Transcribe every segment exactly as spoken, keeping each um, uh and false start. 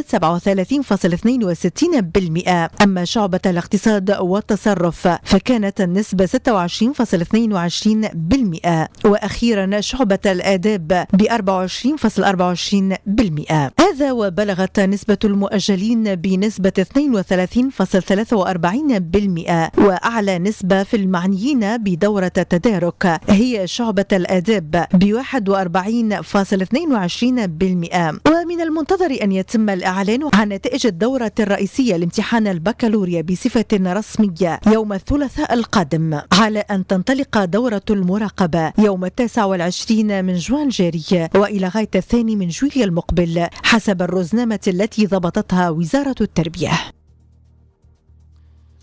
سبعة وثلاثين فاصل اثنين وستين بالمئة. أما شعبة الاقتصاد والتصرف فكانت النسبة ستة وعشرين فاصل اثنين وعشرين بالمئة، وأخيرا شعبة الآداب ب أربعة وعشرين فاصل أربعة وعشرين بالمئة. هذا وبلغت نسبة المؤجلين بنسبة اثنين وثلاثين فاصل ثلاثة وأربعين بالمئة، وأعلى نسبة في المعنيين بدورة التدارك هي شعبة الآداب ب واحد وأربعين فاصل اثنين وعشرين بالمئة. ومن المنتظر أن يتم الإعلان عن نتائج الدورة الرئيسية لامتحان البكالوريا بصفة رسمية يوم الثلاثاء القادم، على أن تنطلق دورة المراقبة يوم التاسع والعشرين من جوان الجاري وإلى غاية الثاني من جويلية المقبل حسب الرزنامة التي ضبطتها وزارة التربية.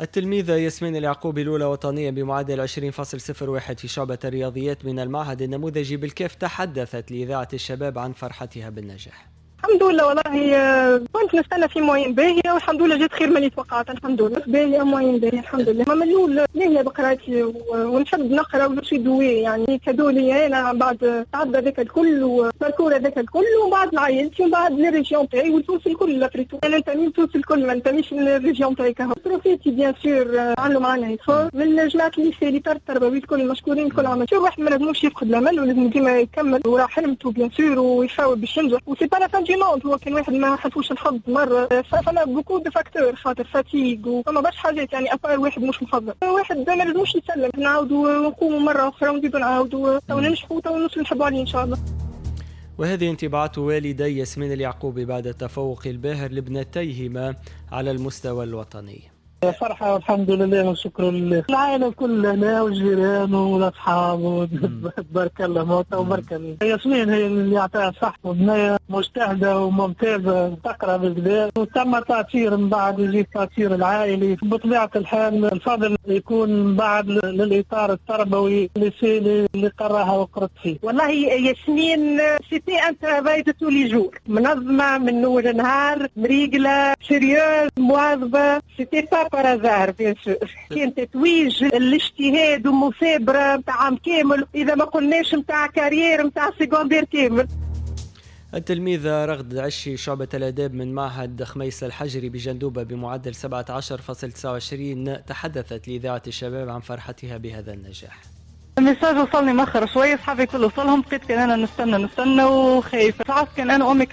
التلميذة ياسمين اليعقوبي الأولى وطنيا بمعدل عشرين فاصل صفر واحد في شعبة الرياضيات من المعهد النموذجي بالكاف تحدثت لإذاعة الشباب عن فرحتها بالنجاح. الحمد لله، والله كنت نستنى في moyenne باهية والحمد لله جات خير من اللي توقعت. الحمد لله باهية moyenne باهية الحمد لله. ما من الأول باهية بقرايتي ونحب نقرا و je suis douée، يعني cadeau لي انا بعد تعب هذاك الكل و parcours هذاك الكل، ومن بعد لعائلتي ومن بعد les régions تاعي وتونس الكل. après tout انا ننتمي لتونس الكل، ما ننتميش لل région تاعي كهو. profs bien sûr عملوا معنا effort من جماعة ال lycée اللي التربوي الكل مشكورين الكل. عمل شو واحد ما لازموش يفقد الامل ولازم ديما يكمل وراه حلمته bien sûr ويحاول باش ينجح، و c'est pas la fin du monde. هو كان واحد ما حلفوش الحظ مرة، فما beaucoup de facteurs خاطر fatigue وفما برشا حاجات، يعني à part واحد مش محضر، واحد ما لازموش يسلم، نعاودوا ونقوموا مرة اخرى ونزيدوا نعاودوا تو ننجحوا تو نوصلوا نحبوا عليه ان شاء الله. وهذه انطباعات والدي ياسمين اليعقوبي بعد التفوق الباهر لابنتيهما على المستوى الوطني. فرحة والحمد لله والشكر لله، العائلة الكل هنا والجيران والأصحاب تبارك الله موتى وبارك الله. ياسمين هي اللي يعطيها صح، وبنية مجتهدة وممتازة تقرأ بالكدا، وتم تأثير من بعد يجي التأثير العائلي. بطبيعة الحال الفضل يكون بعد للإطار التربوي اللي اللي قراها وقرت فيه. والله ياسمين c'était un travail de tous les jours، منظمة من أول نهار، مريقلة، sérieuse، مواظبة، c'était pas par hasard bien sûr. كان تتويج الاجتهاد ومثابره نتاع عام كامل، اذا ما قلناش نتاع carrière نتاع secondaire كامل. التلميذة رغد عشي شعبة الآداب من معهد خميس الحجري بجندوبة بمعدل سبعة عشر فاصل تسعة وعشرين تحدثت لإذاعة الشباب عن فرحتها بهذا النجاح. ال message وصلني مخر شوية، صحابي كل وصلهم، بقيت كان انا نستنى نستنى وخايفة. ساعات كان انا وامي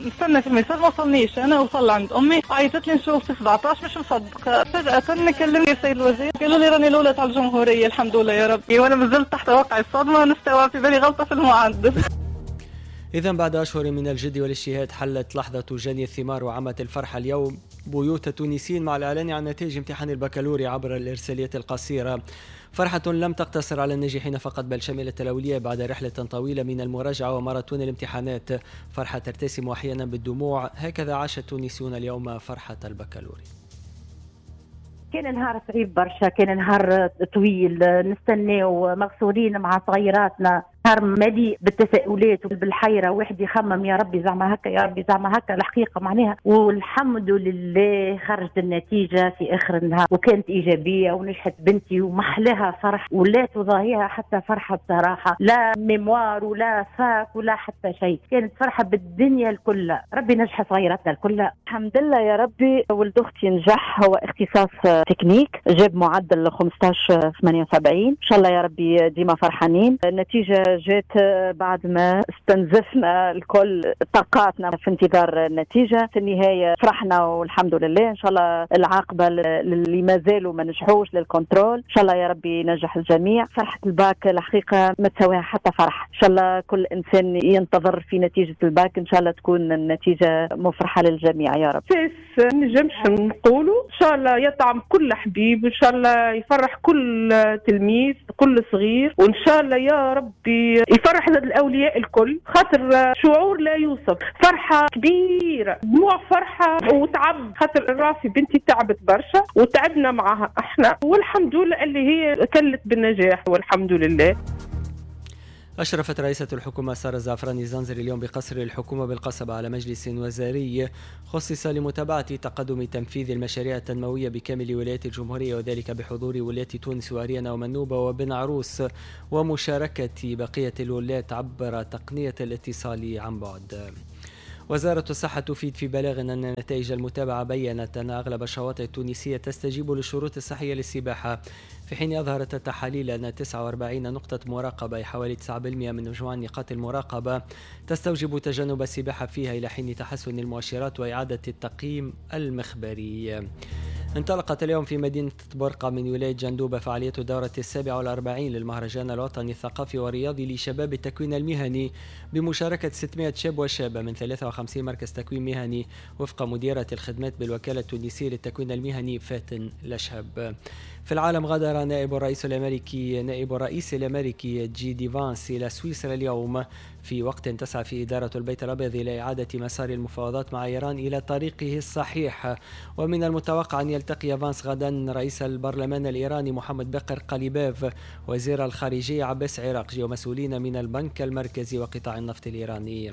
نستنى في ال message ما وصلنيش، انا وصل عند امي عيطت لي نشوف في سبعطاش مش مصدقه. فجاة كلمني السيد الوزير قالوا لي راني الاولى تاع الجمهورية الحمد لله يا ربي، وانا مازلت تحت وقع الصدمة ونستوعب في بالي غلطه في المعدل. إذا بعد أشهر من الجد والاجتهاد حلت لحظة جني الثمار وعمت الفرحة اليوم بيوت التونسيين مع الإعلان عن نتائج امتحان البكالوريا عبر الإرسالية القصيرة. فرحة لم تقتصر على الناجحين فقط بل شملت الأولياء بعد رحلة طويلة من المراجعة وماراثون الامتحانات. فرحة ترتسم أحيانا بالدموع، هكذا عاش التونسيون اليوم فرحة البكالوريا. كان نهار صعيب برشا، كان نهار طويل، نستناو مغصورين مع صغيراتنا، نهار مليء بالتساؤلات وبالحيرة، واحد يخمم يا ربي زعما هكا يا ربي زعما هكا الحقيقة معناها. والحمد لله خرجت النتيجة في آخر النهار وكانت إيجابية ونجحت بنتي ومحلاها فرح ولا تضاهيها حتى فرحة بصراحة، لا mémoire ولا fac ولا حتى شيء، كانت فرحة بالدنيا الكل. ربي نجح صغيراتنا الكل الحمد لله يا ربي. ولد أختي نجح، هو اختصاص تكنيك، جاب معدل خمسطاش ثمانية وسبعين، إن شاء الله يا ربي ديما فرحانين. النتيجة جات بعد ما استنزفنا الكل طاقاتنا في انتظار النتيجة، في النهاية فرحنا والحمد لله. إن شاء الله العاقبة للي ما زالوا ما نجحوش لل contrôle، إن شاء الله يا ربي ينجح الجميع. فرحة الباك الحقيقة ما تساويها حتى فرح، إن شاء الله كل إنسان ينتظر في نتيجة الباك، إن شاء الله تكون النتيجة مفرحة للجميع يا رب. ساس نجمش نقولوا إن شاء الله يطعم كل حبيب، إن شاء الله يفرح كل تلميذ كل صغير، وإن شاء الله يا ربي يفرح الأولياء الكل، خاطر شعور لا يوصف، فرحة كبيرة، دموع فرحة وتعب، خاطر راسي بنتي تعبت برشا وتعبنا معها احنا، والحمد لله اللي هي كلت بالنجاح والحمد لله. أشرفت رئيسة الحكومة سارة الزعفراني زنزري اليوم بقصر الحكومة بالقصبة على مجلس وزاري خصص لمتابعة تقدم تنفيذ المشاريع التنموية بكامل ولايات الجمهورية، وذلك بحضور ولاية تونس وأريانا ومنوبة وبن عروس ومشاركة بقية الولايات عبر تقنية الاتصال عن بعد. وزارة الصحة تفيد في بلاغ أن نتائج المتابعة بيّنت أن أغلب الشواطئ التونسية تستجيب للشروط الصحية للسباحة، في حين أظهرت التحاليل أن تسعة وأربعين نقطة مراقبة حوالي تسعة بالمئة من مجموع نقاط المراقبة تستوجب تجنب السباحة فيها إلى حين تحسن المؤشرات وإعادة التقييم المخبري. انطلقت اليوم في مدينة برقة من ولاية جندوبة فعالية الدورة السابعة والأربعين للمهرجان الوطني الثقافي والرياضي لشباب التكوين المهني بمشاركة ستمائة شاب وشابة من ثلاثة وخمسين مركز تكوين مهني وفق مديرة الخدمات بالوكالة التونسية للتكوين المهني فاتن لشهب. في العالم، غادر نائب الرئيس الأمريكي نائب الرئيس الأمريكي جي دي فانس إلى سويسرا اليوم في وقت تسعى فيه إدارة البيت الأبيض إلى إعادة مسار المفاوضات مع إيران إلى طريقه الصحيح. ومن المتوقع أن يلتقي فانس غدا رئيس البرلمان الإيراني محمد باقر قاليباف، وزير الخارجية عباس عراقجي، ومسؤولين من البنك المركزي وقطاع النفط الإيراني.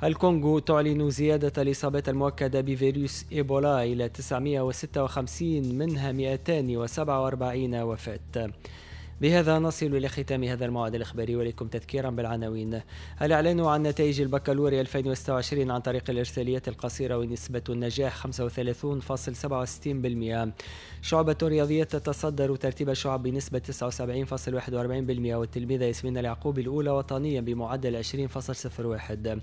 الكونغو تعلن زيادة الإصابات المؤكدة بفيروس إيبولا إلى تسعمائة وستة وخمسين، منها مئتين وسبعة وأربعين وفاة. بهذا نصل إلى ختام هذا الموعد الإخباري، ولكم تذكيرا بالعناوين. الإعلان عن نتائج البكالوريا ألفين وستة وعشرين عن طريق الإرساليات القصيرة ونسبة النجاح خمسة وثلاثين فاصل سبعة وستين بالمئة. شعبة الرياضيات تتصدر ترتيب الشعب بنسبة تسعة وسبعين فاصل واحد وأربعين بالمئة، والتلميذة ياسمين اليعقوب الأولى وطنيا بمعدل عشرين فاصل صفر واحد.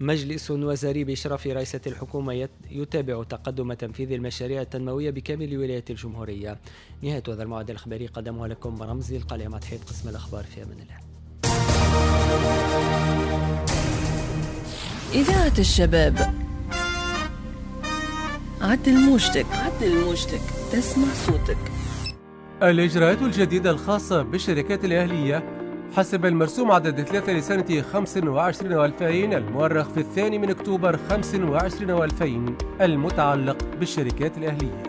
مجلس وزاري بإشراف رئيسة الحكومة يتابع تقدم تنفيذ المشاريع التنموية بكامل ولايات الجمهورية. نهاية هذا الموعد الإخباري قدمه لكم رمزي القلعة مع تحية قسم الأخبار. في أمان الله. إذاعة الشباب، عدل موجتك، عدل موجتك، تسمع صوتك. الإجراءات الجديدة الخاصة بالشركات الأهلية حسب المرسوم عدد ثلاثة لسنة خمسة وعشرين وألفين المؤرخ في الثاني من أكتوبر خمسة وعشرين وألفين المتعلق بالشركات الأهلية.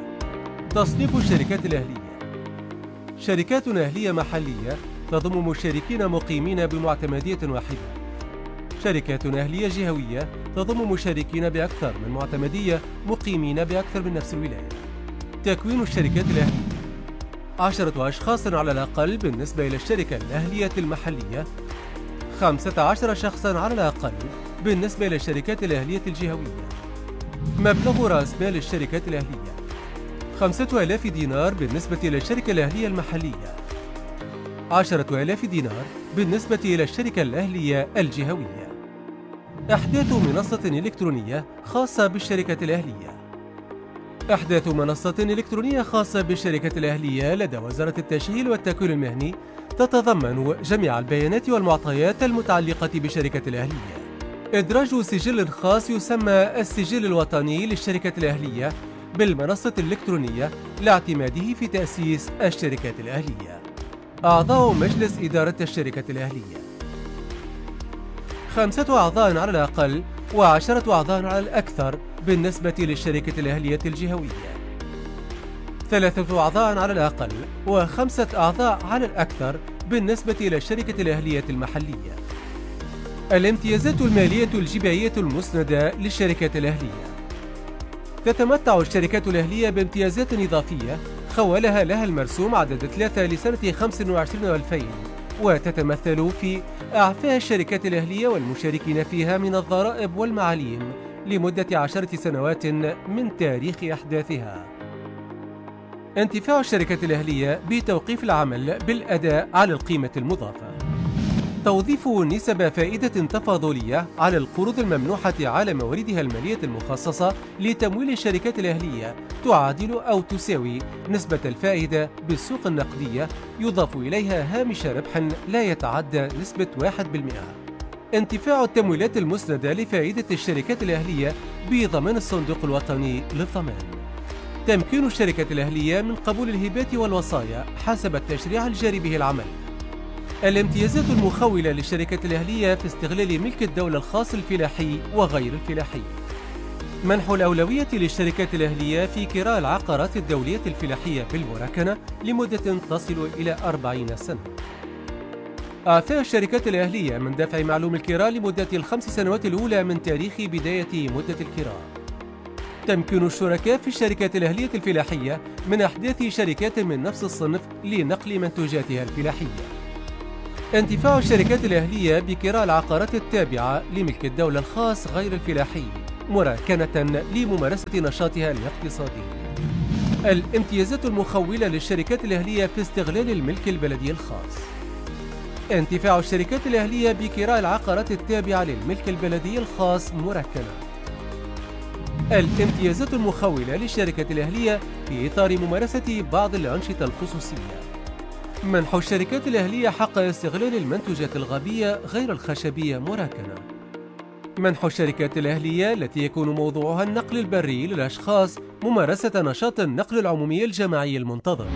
تصنيف الشركات الأهلية: شركات أهلية محلية تضم مشاركين مقيمين بمعتمدية واحدة. شركات أهلية جهوية تضم مشاركين بأكثر من معتمدية مقيمين بأكثر من نفس الولاية. تكوين الشركات الأهلية: عشرة أشخاص على الأقل بالنسبة إلى الشركة الأهلية المحلية، خمسة عشر شخصا على الأقل بالنسبة إلى الشركات الأهلية الجهوية. مبلغ رأس مال الشركات الأهلية خمسة آلاف دينار بالنسبة إلى الشركة الأهلية المحلية، عشرة آلاف دينار بالنسبة إلى الشركة الأهلية الجهوية. إحداث منصة إلكترونية خاصة بالشركة الأهلية. إحداث منصة إلكترونية خاصة بالشركة الأهلية لدى وزارة التشغيل والتكوين المهني تتضمن جميع البيانات والمعطيات المتعلقة بشركة الأهلية. إدراج سجل خاص يسمى السجل الوطني للشركة الأهلية بالمنصة الإلكترونية لاعتماده في تأسيس الشركات الأهلية. أعضاء مجلس إدارة الشركة الأهلية: خمسة أعضاء على الأقل وعشرة أعضاء على الأكثر بالنسبة للشركة الأهلية الجهوية، ثلاثة أعضاء على الأقل وخمسة أعضاء على الأكثر بالنسبة إلى الشركة الأهلية المحلية. الامتيازات المالية الجبائية المسندة للشركات الأهلية: تتمتع الشركات الأهلية بامتيازات إضافية خولها لها المرسوم عدد ثلاثة لسنة خمسة وعشرين وألفين، وتتمثل في إعفاء الشركات الأهلية والمشاركين فيها من الضرائب والمعاليم لمدة عشرة سنوات من تاريخ إحداثها. انتفاع الشركات الأهلية بتوقيف العمل بالأداء على القيمة المضافة. توظيف نسب فائدة تفاضلية على القروض الممنوحة على مواردها المالية المخصصة لتمويل الشركات الأهلية تعادل أو تساوي نسبة الفائدة بالسوق النقدية يضاف إليها هامش ربح لا يتعدى نسبة واحد بالمئة. انتفاع التمويلات المسندة لفائدة الشركات الأهلية بضمان الصندوق الوطني للضمان. تمكين الشركات الأهلية من قبول الهبات والوصايا حسب التشريع الجاري به العمل. الامتيازات المخولة للشركات الأهلية في استغلال ملك الدولة الخاص الفلاحي وغير الفلاحي. منح الأولوية للشركات الأهلية في كراء العقارات الدولية الفلاحية بالمراكنة لمدة تصل إلى أربعين سنة. إعفاء الشركات الأهلية من دفع معلوم الكراء لمدة الخمس سنوات الأولى من تاريخ بداية مدة الكراء. تمكين الشركاء في الشركات الأهلية الفلاحية من إحداث شركات من نفس الصنف لنقل منتوجاتها الفلاحية. انتفاع الشركات الأهلية بكراء العقارات التابعة لملك الدولة الخاص غير الفلاحي مراكنة لممارسة نشاطها الاقتصادي. الامتيازات المخولة للشركات الأهلية في استغلال الملك البلدي الخاص. انتفاع الشركات الأهلية بكراء العقارات التابعة للملك البلدي الخاص مراكنة. الامتيازات المخولة للشركات الأهلية في إطار ممارسة بعض الأنشطة الخصوصية. منح الشركات الأهلية حق استغلال المنتوجات الغابية غير الخشبية مراكنة. منح الشركات الأهلية التي يكون موضوعها النقل البري للأشخاص ممارسة نشاط النقل العمومي الجماعي المنتظم.